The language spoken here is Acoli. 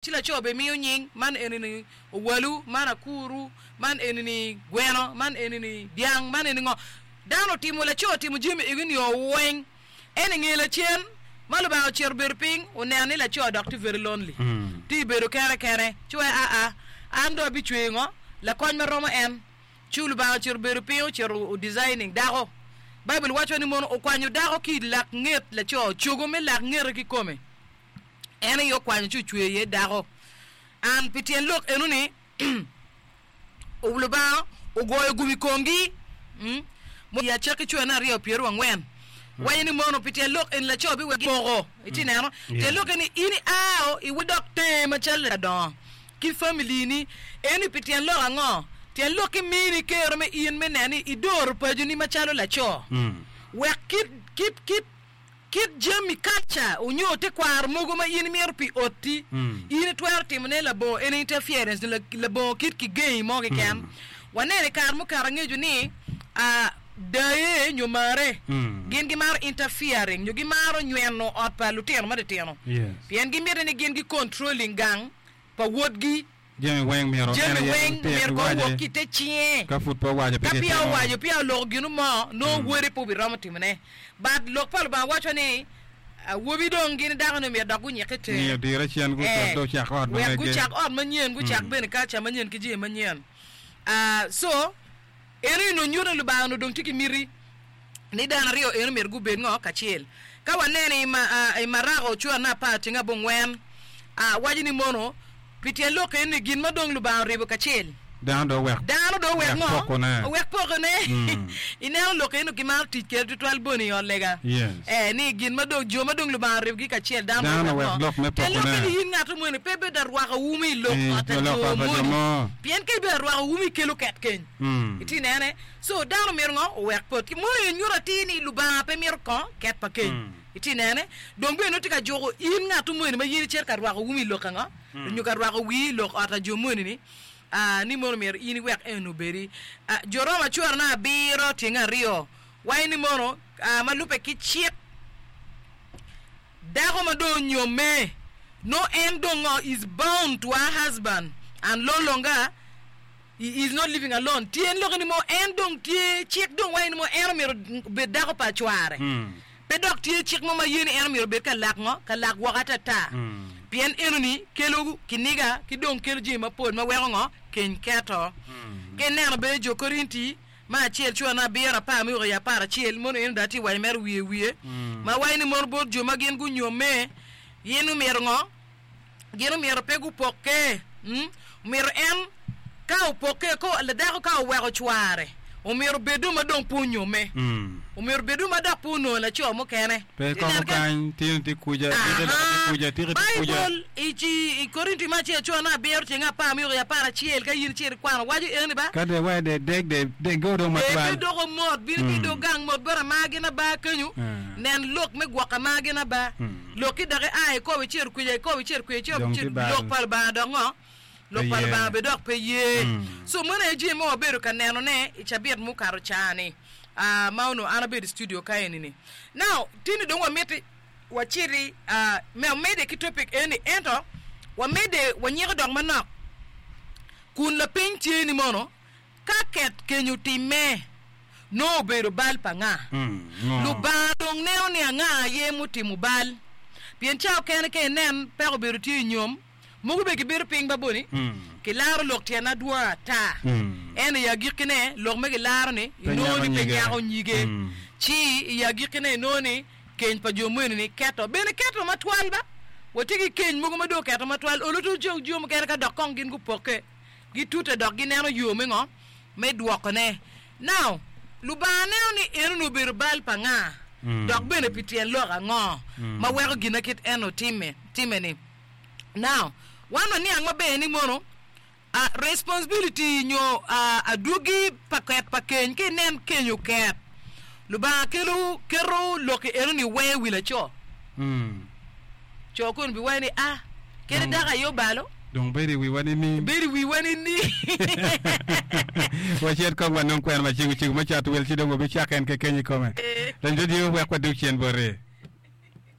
Ci laco bimiyo nying, man eni-ni owalu, man akuru, man eni-ni gweno, man eni-ni dyang, man eni ngo. Dano otimo, laco otimo jami egi nio weng. En i nge lacen ma Lubanga ocito obedo piny, oneno ni laco dok tye very lonely, tye bedo kene kene. Ci wai aa, an dong abicweyo ngo? Lakony ma romo en. Ci Lubanga ocito obedo piny, ocito o designing dako. Baibul waco ni mono okwanyo dako ki i lak nget laco, cogo me lak ngete kikome. En aye okwanyo ci ocweyo iye dako. An pi tyen lok eno-ni, Lubanga ogoyo gum i komgi. I acakki cwene aryo pyerangwen, waco ni mono pi tyen lok eni laco biweko poko. Itye neno? Tyen lok eni in iao iwek dok tenge macalo ladongo ki famili-ni. Eni pi tyen lok ango? Tyen lok ki mini kero me in me neno ni idoro paconi macalo laco. Wek kit kit kit Kit jami, culture, onyo tekwaro mogo ma in imito pi otti, in itwero timone labongo any interference nyo labongo kit kigengi mo keken. Waneno i kare mukato angeco ni daye nyo mare gin gimaro interfering nyo gimaro nyweno ot pa lutino matitino pien gimiti ni gin gi controlling gang pa wodgi. Jami weng myero en Jami aye weng otit myero kong iwace. owok ki i te cinge. Ka pud pe owaco pe Ka peya kitimo. owaco, peya oloko gino mo, nongo wode pe obiromo timone. But lok pa Lubanga waco ni, awobi dong gin dako-ni myero dok gunyikke Ngiyo tere. dire cen gucak Eh, dong ocak ot ma wek mege. gucak ot manyen, gucak bene culture manyen ki jami manyen. Ah, so, eno onongo nyuto ni Lubanga onongo dong tye ki miti ni dano aryo eno myero gubed ngo kacel. Ka waneno i, i Marako cura me apar tyeng abongwen, ah, waco ni mono, Pi tyen lok eni ni gin ma dong Lubanga oribo kacel. Dano dong owek Dano dong owek ngo? pokone. Owek pokone. Ineno lok eni gimaro tic kwede tutwal boni i ot lega. Yes. Eh, ni gin ma dong jo ma dong Lubanga oribogi kacel dano Dano dong owek owek ngo? lok me Tyen lok pokone. eni in ngat moni pe ibedo arwako umi i lok I ot pa lok jo ot pa jo moni. mo. Pien ka ibedo arwako umi ikelo ket keny. Itye inene? So dano myero ngo? Owek pot. Ki mono en nyuto atir ni Lubanga pe mito ko ket pa keny. Itye inene? Dong bene nongo tye ka juko in ngat moni ma in icito ka rwako umi i lok ango? Nyo ka rwako wii i lok ot a jo moni-ni, aa, ni mono myero in iwek en obedi. Aa, jo Roma coro abiro tyeng aryo waco ni mono, aa, ma lubbe ki cik, dako ma dong onyomme, nongo en dong ngo, is bound to her husband and no longer He is not living alone. Tyen lokke ni mo en dong tye cik dong waco ni mo en omyero obed dako pa cware. Pe dok tye cik mo ma ye ni en omyero obed ka lak ngo? Ka lak woko atata. Pien enoni kelo kiniga ki dong kelo jami mapol ma weko ngo? Keny keto. Ka ineno bene jo Korinti me acel cwane abiro apar me woko i aparacel mono eno dong atye waco mere wiye wiye ma waco ni mono bot jo ma gin gunyomme gin omyero ngo? Gin omyero pe gupokke. Omyero en ka opokke, ladako ka oweko cware, omyero obed dong ma dong pe onyomme. Omyero obed dong ma dok pe onongo laco mukene. Pe koko kany, tino tye kuca, tiki dok tye kuca, tiki tye kuca. Baibul i Korinti me acel cura me abiro tyeng apar me woko i aparacel ka in icito ikwano waco eno ni ba. Ka dong iwaco dong deg dong degge dong matwal. Degge doko mot, bino ki i dog gang mot bot amar gin aba kenyo, nen lok me gwoko amar gin aba. Lokki dok ia ikobo icito kwica ikobo icito kwica icito Dong icito tye bal. lok pa Lubanga dok ngo? Lok Pe pa ye. Lubanga be dok pe ye. So meno aye jami ma wabedo ka nenone i cabit mukato ca-ni, ah, ma onongo an abedo i studio ka eni-ni. Now, tini dong wamiti waciti, ah, me wamedde ki topic eni, ento wamedde wanyiko dok manok kun lapeny tye ni mono, Ka ket keny otimme, nongo obedo bal pa anga? Lubanga dong neno ni anga aye mutimo bal. Pien ca okene ka inen peko obedo tye i nyom, mogo bene gibedo piny ba boni, kilaro lok tyen adwong ata. Ento i agikkine, lok me gilaro-ni inongo ni pe nyako nyige. Ci i agikkine inongo ni keny pa jo moni-ni keto bene keto matwal ba. Watye ki keny mogo ma dong oketo matwal, olo to jo mukene ka dok kong gin gupokke. Gitute dok gineno yo me ngo? Me dwokone. Now, Lubanga neno ni enoni obedo bal pa nga? Dok bene pi tyen lok ango ma weko gin kit eno time, time-ni? Now, wan waniang maber ni mono a responsibility nyo a adwogi pa ket pa keny, ka inen keny oket, Lubanga kelo, keto lok enoni weng i wi laco. Co koni biwaco ni, A, kadi dako aye obalo. Dong bedo i wiwa nining? Bedo i wiwa nining? Wacit kong wanong kwena macego cego me cato wil ci dong wabicako en keken i kome. Lany radio wek wadog cen boti.